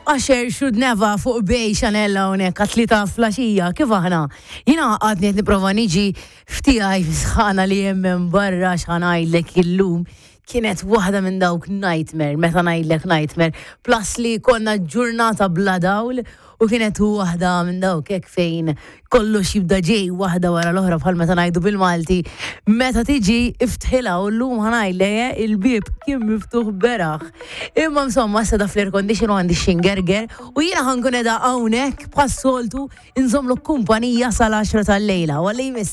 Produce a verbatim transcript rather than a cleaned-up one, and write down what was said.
Usher, Should Never fuq Bay Chanel hawnhekk għat-tlieta filgħaxija, kif aħna? Jiena għadni qed nipprova niġi f'tiegħi sħana li hemm minn barra. X'ħa ngħidlek, illum kienet waħda minn dawk nightmare, meta ngħidlek nightmare, plus li konna ġurnata bla dawl u kienet waħda minn dawk hekk fejn kollox jibda ġej waħda wara l-oħra, bħal meta ngħidu bil-Malti, meta tiġi iftħilha, u llum ħa ngħidlek il-bieb kien miftuħ beraħ. Imma insomma, issa da fl-air condition u għandi xingerger u jiena ħa nkun qiegħda hawnhekk bħas-soltu inżomlu kumpanija sal-għaxra tal-lejla. Għalli jmiss.